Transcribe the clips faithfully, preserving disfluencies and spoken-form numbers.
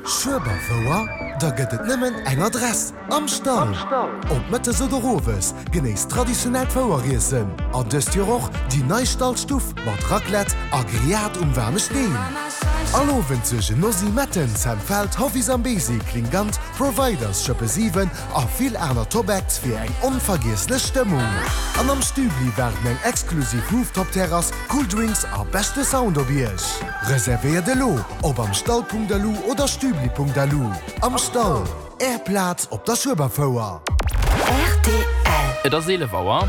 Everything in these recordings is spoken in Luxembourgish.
Schueberfouer? Da gëtt et nëmmen eng Adress, Am Stall! Ob mëttes oder owes, genéisst traditionellt Foueriessen an dëst Joer och déi nei Stallstuff mat Raclette a Grillade um waarme Steen. All Owend suergen Nosy Metten, Sam Feld, Hovi Zambezi, Klingant, Providers, Schëppe siwen a vill aner Top-Acts fir eng onvergiesslech Stëmmung. An am Stübli waarden eng exklusiv Rooftop-Terrass, cool Drinks a beschte Sound op Iech. Reservéiert elo op amstall.lu oder stübli.lu. Am Stall, Är Plaz op der Schueberfouer. Rtl. Et ass eelef Auer.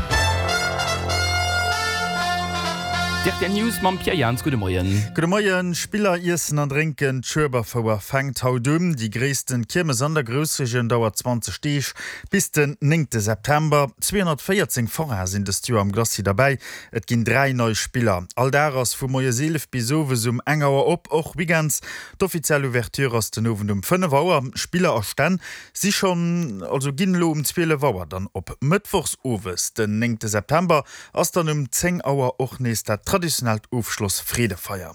D'rtl News mam Pierre Jans. Gudde Moien. Gudde Moien. Spiller, Iessen an Drénken, D'Schueberfouer fänkt haut un. Déi gréissten Kiermes an der Groussregioun dauert zwanzeg Deeg, bis den néngte September. Zweehonnertvéierzéng Foraine sinn dëst Joer am Glacis derbäi. Et ginn dräi nei Spiller. All Dag ass vu moies eelef bis owes um eng Auer op, och Weekends. D'offiziell Ouverture ass den Owend um fënnef Auer. Spiller a Stänn si schonn, also ginn elo um zwielef Auer dann op. Mëttwochs owes, den néngte September, ass dann um zéng Auer och nees dat traditionellt Ofschloss-Freedefeier.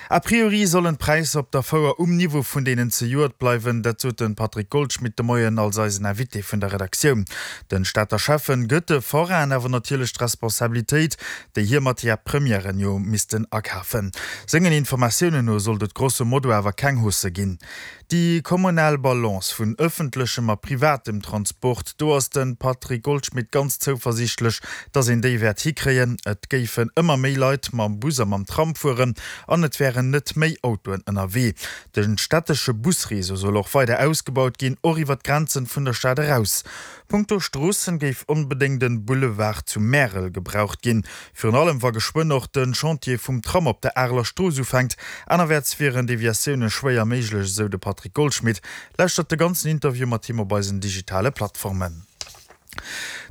A priori sollen d'Präisser op der Fouer um Niveau vun deenen zejoert bleiwen, dat sot de Patrick Goldschmidt de Moien als eisen Invité vun der Redaktioun. Den Stater Schäffen gëtt de Forainen awer natierlech d'Responsabilitéit, déi hir Matière premièren jo missten akafen. Sengen Informatiounen no sollt et grosso modo awer keng Hausse ginn. Déi kommunal Balance vun ëffentlechem a privatem Transport, do ass de Patrick Goldschmidt ganz zouversiichtlech, datt een déi wäert hikréien. Et géifen ëmmer méi Leit mam Bus a mam Tram fueren an et wären net méi Autoen ënnerwee. De stättesche Busreseau soll och weider ausgebaut ginn, och iwwer d'Grenzen vun der Stad eraus. Punkto Stroossen géif onbedéngt en Boulevard zu Märel gebraucht ginn, virun allem wa geschwënn och den Chantier vum Tram op der Areler Strooss ufänkt. Anerwäerts wieren Deviatiounen schwéier méiglech, esou de Patrick Goldschmidt. Lauschtert de ganzen Interview mat him op eisen digitale Plattformen.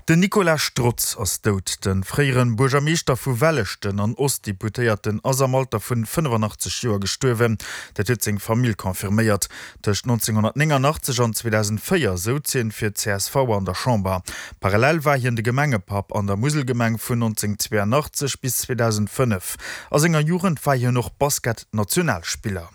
Den Nicolas Strotz ass dout. De fréiere Buergermeeschter vu Welleschten an Ostdeputéierten ass am Alter vun fënnefanachtzeg Joer gestuerwen. Dat huet seng Famill confirméiert. Tëscht nonzénghonnertnénganachtzeg an zweedausendvéier souz hien fir d'CSV an der Chamber. Parallel war hien de Gemengepapp an der Muselgemeng vun nonzénghonnertzweianachtzeg bis zweedausendfënnef. A senger Jugend war hien och Basket-Nationalspiller.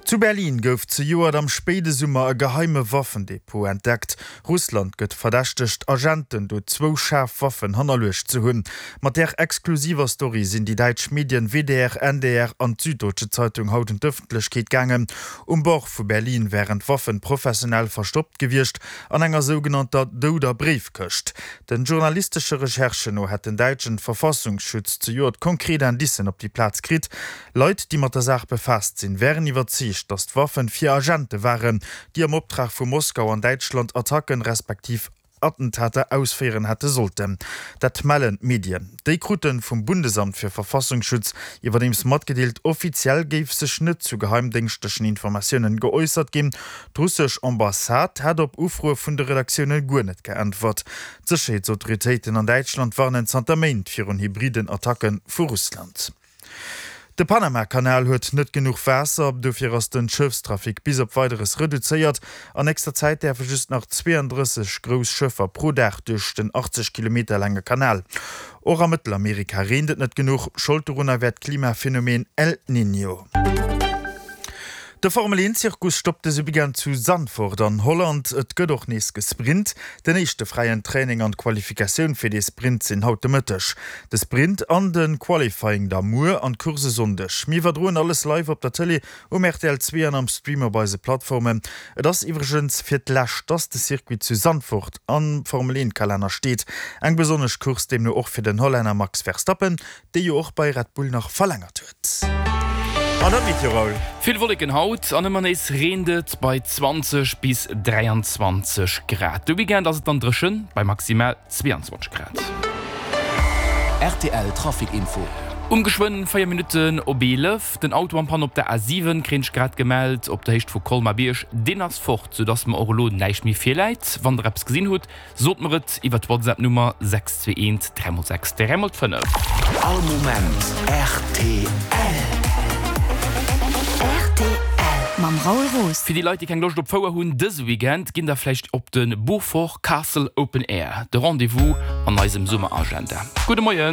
Zu Berlin gouf zejoert am spéide Summer e geheime Waffendepot entdeckt. Russland gëtt verdächtegt, Agenten do zwou schaarf Waffen hannerluecht ze hunn. Mat där exklusiver Story sinn déi däitsch Medien W D R, N D R an d'Süddeutsche Zeitung haut un d'Ëffentlechkeet gaangen. Um Bord vu Berlin wären d'Waffen professionell verstoppt gewiescht, an enger sougenannter douder Bréifkëscht. Den journalistesche Recherchen no hätt den däitschen Verfassungsschutz zejoert konkret Indicen op déi Plaz kritt. Leit, déi mat der Saach befaasst sinn, wären iwwerzeegt, datt d'Waffen fir Agente waren, déi am Optrag vu Moskau an Däitschland Attacken respektiv Attentater ausféieren hätte sollten. Dat mellen d'Medien. Déi krute vum Bundesamt fir Verfassungsschutz iwwerdeems matgedeelt, offiziell géif sech net zu geheimdéngschtlechen Informatiounen geäussert ginn. D'russesch Ambassade hätt op Ufroe vun de Redaktioune guer net geäntwert. D'Sécherheetsautoritéiten an Däitschland warnen zanter Méint virun hybriden Attacke vu Russland. De Panama-Kanal huet net genuch Waasser, dofir ass den Schëffstrafic bis op Weideres reduzéiert. An nächster Zäit däerfe just nach zweeëndrësseg grouss Schëffer pro Dag duerch den achtzeg Kilometer laange Kanal. Och a Mëttelamerika reent et net genuch, Schold dorunner wär d'Klimaphenomen El Niño. De Formel eent Zirkus stoppt dëse Weekend zu Zandvoort an Holland. Et gëtt och nees gesprint. Den éischte fräien Training an d'Qualifikatioun fir dee Sprint sinn haut de Mëtteg. De Sprint an de Qualifying da muer an d'Course e Sonndeg. Mir iwwerdroen alles live op der Tëlee, um R T L zwee an am Stream op eise Plattformen. Et ass iwwregens fir d'lescht, dass de Circuit zu Zandvoort am Formel eent Kalenner steet. Eng besonnesch Course deemno och fir den Hollänner Max Verstappen, dee jo och bei Red Bull nach verlängert huet. An der Meteo, Raoul. Vill Wolleken haut an ëmmer nees reent et bei zwanzeg bis dräianzwanzeg Grad. De Weekend ass et dann dréchen bei maximal zweeanzwanzeg Grad. R T L Trafic Info. Um geschwënn véier Minutten op eelef, den Auto en panne op der A siwen kréien ech grad gemellt op der Héicht vu Colmar-Bierg. Deen ass fort, soudass mer och elo näischt méi virläit. Wann der eppes gesinn hutt, Sot mer et iwwer d'WhatsApp-Nummer sechs zwee eent dräi mol sechs dräi mol fënnef. All Moment rtl. Rtl mam Raoul Roos. Fir déi Leit, déi keng Loscht op Fouer hunn dëse Weekend, ginn der vläicht op de Beaufort Castle Open Air. De Rendez-vous an eisem Summeragenda. Gudde Moien.